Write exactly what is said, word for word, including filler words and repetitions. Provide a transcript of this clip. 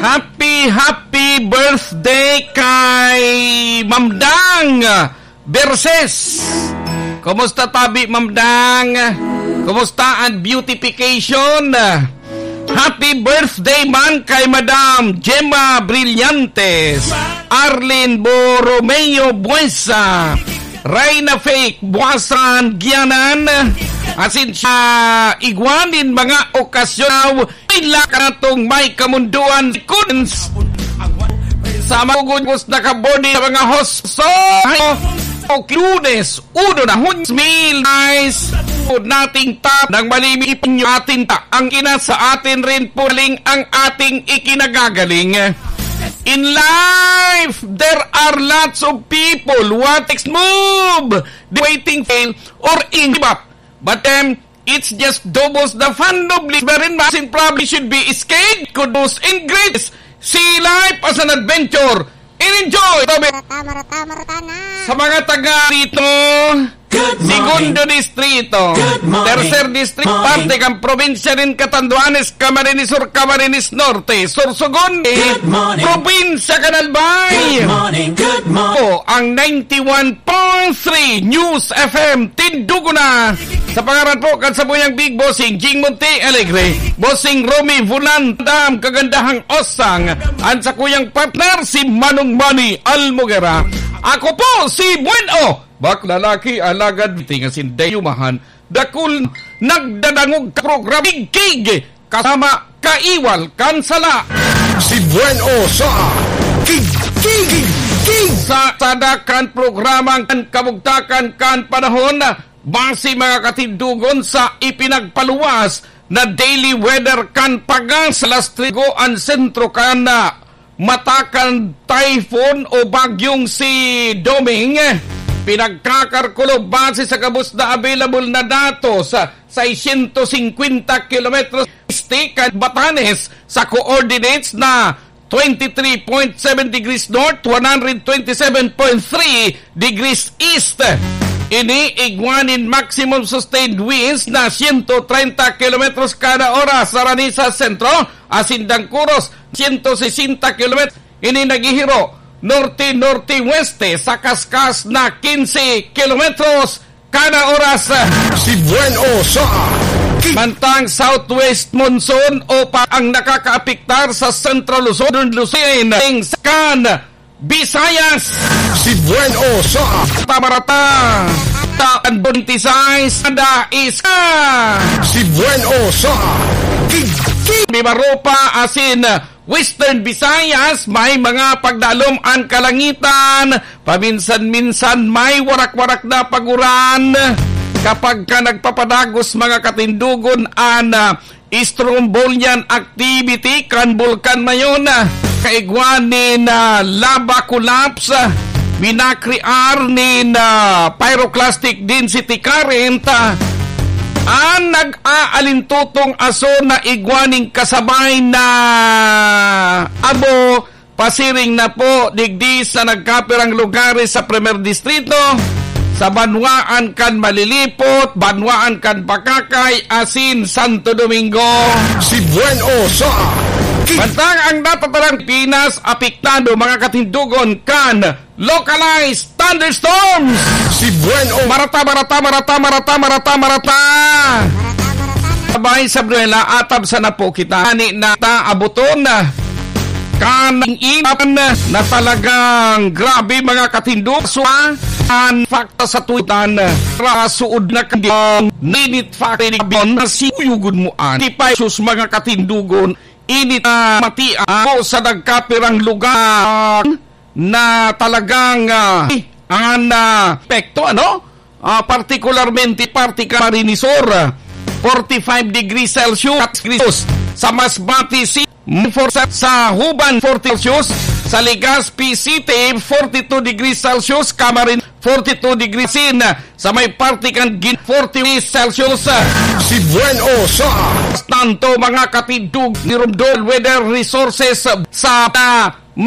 Happy, happy birthday kay Ma'am Dang Berses. Kumusta tabi, Ma'am Dang? Kumusta ang beautification? Happy birthday man kay Madam Gemma Brillantes, Arlene Borromeo Buesa, Reyna Fake Buasan Gianan, asin sa igwa nin mga okasyon, ila ka natong may kamunduan, kuns sa magugugos na kabody sa mga hospital. Lunes, uno na Hunyo, mil guys. Nating tap ng malimit ipinyo atin ta. Ang ina sa atin rin puling ang ating ikinagagaling. In life, there are lots of people who want to move, waiting fail or in give up. But then, it's just doubles the fun of living. Wherein masin probably should be escaped, kudos and greats. See life as an adventure and enjoy. Marata, marata, marata na. Sa mga taga rito, Good morning. Segundo Distrito, Good morning. Tercer Distrito, Morning. Parte kan probinsya nin Catanduanes, Camarines Sur, Camarines Norte, Sorsogon, Good morning. Probinsya kan Albay. Good morning, good morning. Po ang ninety-one point three News F M, Tindugo na. Sa pangaran po kan sabuyang Big Bossing Jing Monte Alegre, Bossing Romy Vulan Dam, kagandahang Osang, ang sakuyang partner si Manong Manny Almoguera. Ako po si Buen O, bak lalaki, alagad, tinga sindayumahan, dakul, nagdadangog ka programa, Kig, kasama, Kaiwal, kan sala. Si Buen O sa Kig, Kig, Kig. Sa sada kan programang kan kabugtakan kan panahon, base mga katindugon sa ipinagpaluwas na daily weather kan Pagas, alas tres an sentro kan, ah, mata kan typhoon o bagyong si Doming. Pinagkakarkulo base sa gabos na available na datos, seiscientos cincuenta kilometros este kan Batanes sa coordinates na twenty-three point seven degrees north, one hundred twenty-seven point three degrees east. Ini igwa nin maximum sustained winds na siyento treinta kilometros kada oras sa Ranisa Sentro, asin Dangkuros, siyento sesenta kilometros. Ini naghihiro norte-norte-weste sa kaskas na quince kilometros kada oras. Si Buen O sa Ki- Mantang southwest monsoon o pa ang nakakaapektar sa Central Luzon, Luzon, kan Visayas. Si Buen O sa Tabarata, Taandon Tisay, Sada Iska. Si Buen O sa Ki- Ki- Mimaropa, asin Western Visayas, may mga pagdalom an kalangitan. Paminsan-minsan may warak-warak na paguran. Kapag ka nagpapadagos mga katindugon an, ah, strombolian activity kan bulkan mayon, ah, kaigwa nin, ah, lava collapse, ah, minakrear nin, ah, pyroclastic density current, ah, an nag-aalintutong aso na igwa nin kasabay na abo, pasiring na po digdi sa nagkapirang lugares sa Primer Distrito, sa banwaan kan Malilipot, banwaan kan Bacacay, asin Santo Domingo. Si Buen O sa Ki- Mantang ang natatarang Pinas apektado mga katindugon kan localized thunderstorms. Si Buen O. Marata, marata, marata, marata, marata, marata. Sabay sa Bruela, atab sana po kita. Ani na ta abuton na kaning inan na talagang grabe mga katindog. So, an fakta sa tuitan, rasuod na kandiyang ninit factory na si uyugon mo an. Tipay sus mga katindugon, init na mati ako sa nagkapirang lugar na talagang, ah, ang, ah, epekto, ano? Ah, partikularmente parte ka Marinisor, ah, forty-five degrees Celsius, sa Masbate City, forty-seven sa Juban, forty Celsius, sa Legazpi City, forty-two degrees Celsius, Camarines, forty-two degrees in, sa may parte kan Gin-, forty degrees Celsius. Si Buen O sa Tanto, mga katindog ni Romdol Weather Resources sa, ah,